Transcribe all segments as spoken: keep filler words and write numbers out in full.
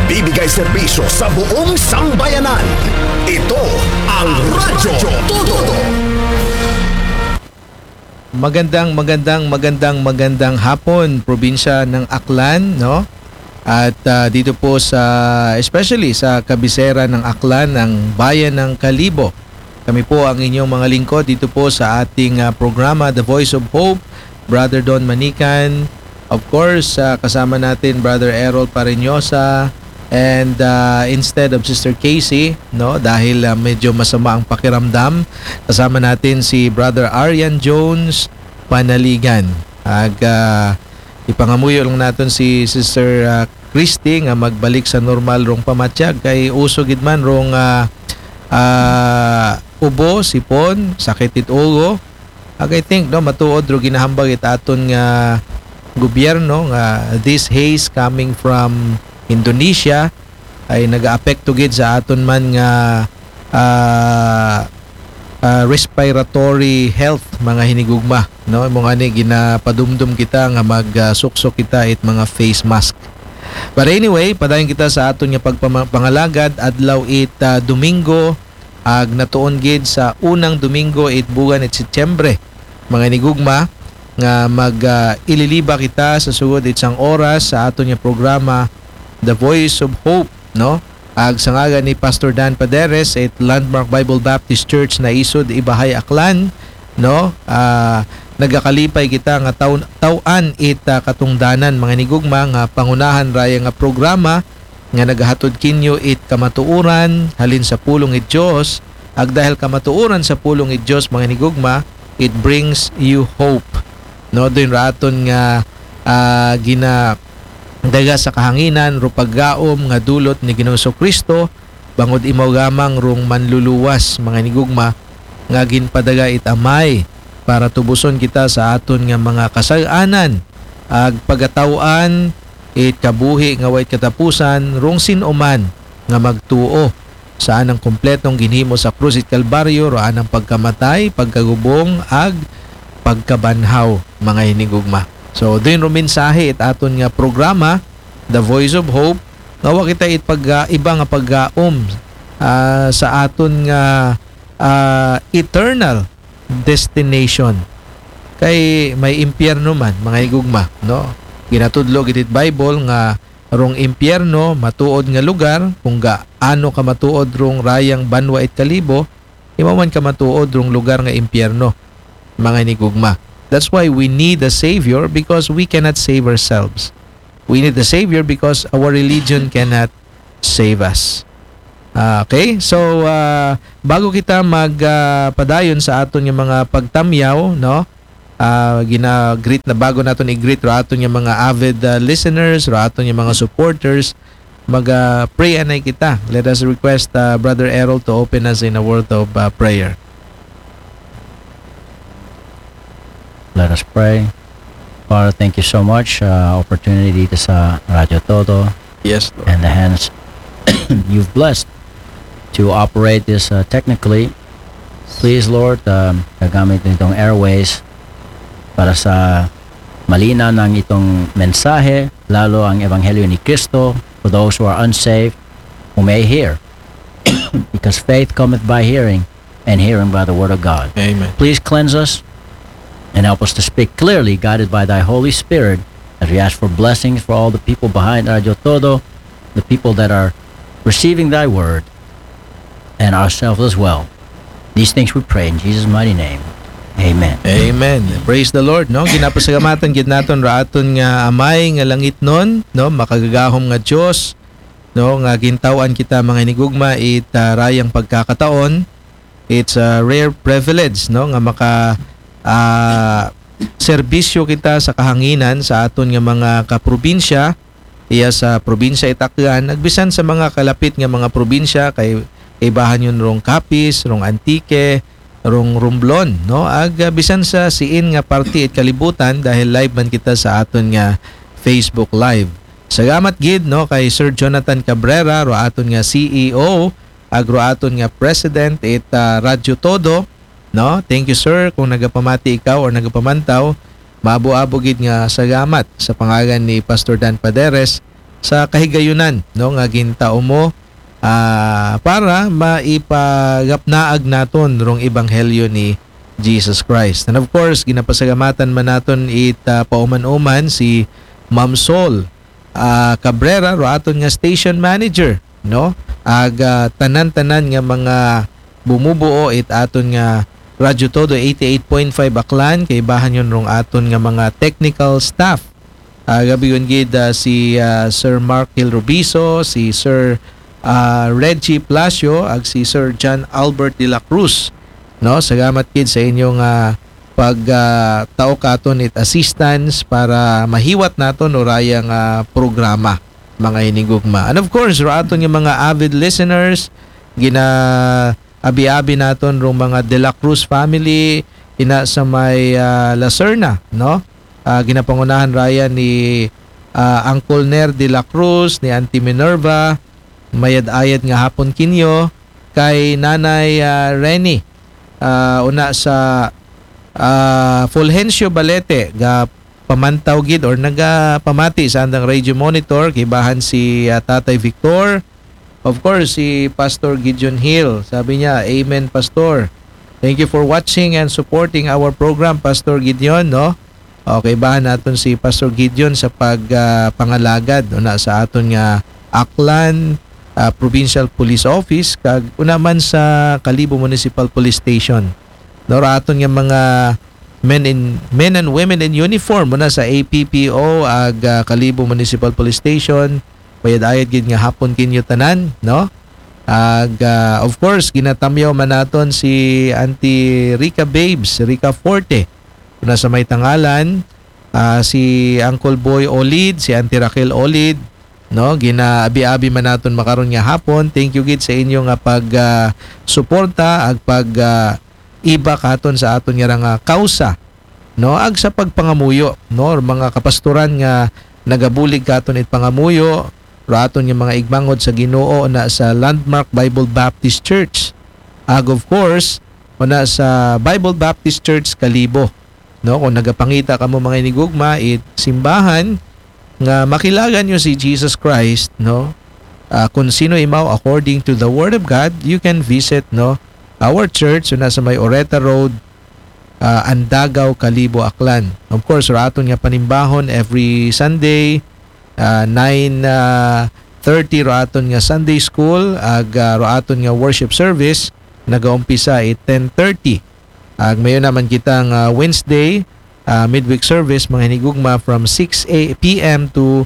Nagbibigay serbisyo sa buong sambayanan. Ito ang Radyo Todo. Magandang, magandang, magandang, magandang hapon, probinsya ng Aklan, no? At ah, dito po sa, especially sa kabisera ng Aklan, ng bayan ng Kalibo. Kami po ang inyong mga lingkod dito po sa ating ah, programa, The Voice of Hope, Brother Don Manican. Of course, ah, kasama natin Brother Errol Pareñosa. And ah, instead of Sister Casey, no, dahil ah, medyo masama ang pakiramdam, kasama natin si Brother Arian Jones Panaligan. Ag ah, ipangamuyo lang natin si Sister ah, Christy nga magbalik sa normal rong pamatyag kay uso gid man rong ah, ah, ubo, sipon, sakit it ulo. Ag I think, no, matuod ro ginahambag it aton nga gobyerno nga this haze coming from Indonesia ay nagaapekto gid sa aton man nga ah, ah, respiratory health, mga hinigugma, no? Imo nga ni ginapadumdum kita nga magsuksok kita it mga face mask. But anyway, padayon kita sa aton nga pagpama- pangalagad, adlaw it ah, Domingo, ag natuon gid sa unang Domingo it buwan it Setyembre, mga hinigugma, nga mag ah, ililiba kita sa sugod it sang oras sa aton nga programa, The Voice of Hope, no? Ag sa ngalan ni Pastor Dan Paderes it Landmark Bible Baptist Church, Naisod, Ibahay, Aklan, no? Ah, nagakalipay kita nga taw- taw-an it ah, katungdanan, mga hinigugma, nga pangunahan raya nga programa nga nagahatod kinyo it kamatuoran halin sa pulong it Dios. Ag dahil kamatuoran sa pulong it Dios, mga hinigugma, it brings you hope, no? Dun ra aton nga ah, ginadaga sa kahanginan ro paggaom nga dulot ni Ginoong Kristo, bangod imo gamang rong manluluwas, mga hinigugma, nga ginpadaga it Amay para tubuson kita sa aton nga mga kasal-anan, ag pagataw-an it kabuhi nga way katapusan rong sin-o man nga magtuo sa anang kompletong ginhimo sa krus it Kalbaryo, ro anang pagkamatay, pagkagubong, ag pagkabanhaw, mga hinigugma. So, dun ro mensahe it aton nga programa, The Voice of Hope, nga wa kita it pag iba nga paggaom ah, sa aton nga ah, eternal destination. Kay may impyerno man, mga hinigugma, no? Ginatudlo gid it Bible nga rong impyerno matuod nga lugar, kung gaano ka matuod rong rayang banwa it Kalibo, imo man ka matuod rong lugar nga impyerno, mga hinigugma. That's why we need a Savior, because we cannot save ourselves. We need a Savior because our religion cannot save us. Ah, okay? So, ah, bago kita mag ah, padayon sa aton nga mga pagtamyaw, no? Ah, gina-greet na, bago naton i-greet ro aton nga mga avid ah, listeners, ro aton nga mga supporters, mag ah, pray anay kita. Let us request ah, Brother Errol to open us in a word of ah, prayer. Let us pray. Father, thank you so much uh, opportunity dito sa Radyo Todo Yes, Lord. And the hands you've blessed to operate this uh, technically. Please, Lord, um, gagamit nitong airways para sa malinaw ng itong mensahe, lalo ang Ebanghelyo ni Kristo for those who are unsaved, who may hear. Because faith cometh by hearing, and hearing by the word of God. Amen. Please cleanse us and help us to speak clearly, guided by thy Holy Spirit, as we ask for blessings for all the people behind Radio Todo, the people that are receiving thy word, and ourselves as well. These things we pray in Jesus' mighty name. Amen. Amen. Praise the Lord, no? Ginapasalamatan gid naton ra aton nga Amay nga langitnon, no? Makagagahom nga Dios, no? Nga gintaw-an kita, mga hinigugma, it ah, rayang pagkakataon. It's a rare privilege, no? Nga maka ah, serbisyo kita sa kahanginan sa aton nga mga kaprobinsya, iya sa probinsya it Aklan, ag bisan sa mga kalapit nga mga probinsya kay kaibahan yun rong Capiz, rong Antique, rong Romblon, no? Ag ah, bisan sa siin nga parte it kalibutan dahil live man kita sa aton nga Facebook Live. Salamat gid, no, kay Sir Jonathan Cabrera, ro aton nga C E O, ag ro aton nga President it ah, Radyo Todo, no? Thank you, sir, kung nagapamati ikaw or nagapamantaw. Maabo-abo gid nga salamat sa pangalan ni Pastor Dan Paderes sa kahigayunan, no, nga gintao mo, ah, para maipagapnaag naton rong ebanghelyo ni Jesus Christ. And of course, ginapasalamatan man naton it, ah, pauman-uman si Ma'am Sol, ah, Cabrera, ro aton nga station manager, no? Ag, ah, tanan-tanan nga mga bumubuo it aton nga Radyo Todo eighty-eight point five Aklan, kaibahan yon rong aton nga mga technical staff. Ah, gabi yon gid, ah, si, ah, Sir Mark Hill Rubiso, si Sir, ah, Reggie Palacio, ag si Sir John Albert de la Cruz. No, salamat gid sa inyong, ah, pag, ah, tao katon it assistance para mahiwat naton uraya nga programa, mga hinigugma. And of course, ro aton nga mga avid listeners, gina-abi-abi naton rong mga De La Cruz family, ina sa may, ah, Lacerna, no? Ah, ginapangunahan raya ni, ah, Uncle Ner de la Cruz, ni Auntie Minerva, mayad-ayad nga hapon kinyo, kay Nanay, ah, Reni, ah, una sa, ah, Fulgencio Balete, ga pamantaw gid or nagapamati sa andang radio monitor, kaibahan si, ah, Tatay Victor. Of course, si Pastor Gideon Hill. Sabi niya, "Amen, Pastor." Thank you for watching and supporting our program, Pastor Gideon, no? Okay, kaibahan naton si Pastor Gideon sa pag, ah, pangalagad una sa aton nga Aklan, ah, Provincial Police Office, kag una man sa Kalibo Municipal Police Station. No, ra aton nga mga men in, men and women in uniform, muna sa A P P O ag, ah, Kalibo Municipal Police Station, mayad-ayad gid nga hapon kinyo tanan, no? Ag, ah, of course, ginatamyaw man naton si Auntie Rica Babes, Rica Forte, muna sa may Tangalan, ah, si Uncle Boy Olid, si Auntie Raquel Olid, no? Ginaabi-abi man naton makaron nga hapon. Thank you gid sa inyo nga pag, ah, suporta ag pag, ah, iba katon sa aton nga nga kausa, no? Ag sa pagpangamuyo, no? Mga kapastoran nga nagabulig katon it pangamuyo, ro aton nga mga igmangod sa Ginoo na sa Landmark Bible Baptist Church. Ag of course, una sa Bible Baptist Church Kalibo, no? Kung nagapangita kamo mga inigugma, it simbahan nga makilagan nyo si Jesus Christ, no? Ah, kung sino imaw according to the Word of God, you can visit, no, our church, una sa may Oreta Road, ah, Andagaw, Kalibo, Aklan. Of course, ro aton nga panimbahon every Sunday, ah, nine, ah, thirty ro aton nga Sunday school, ag, ah, ro aton nga worship service, nagaumpisa it ten thirty. Ag mayo naman kita nga Wednesday, ah, midweek service, mga hinigugma from six a p m to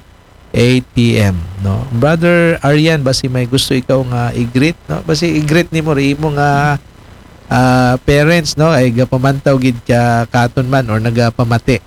eight p m, no? Brother Arian, basi may gusto ikaw nga i-greet, no? Basi i-greet nimo ri imo nga, ah, parents, no? Ay gapamantaw gid ka katon man or nagapamati.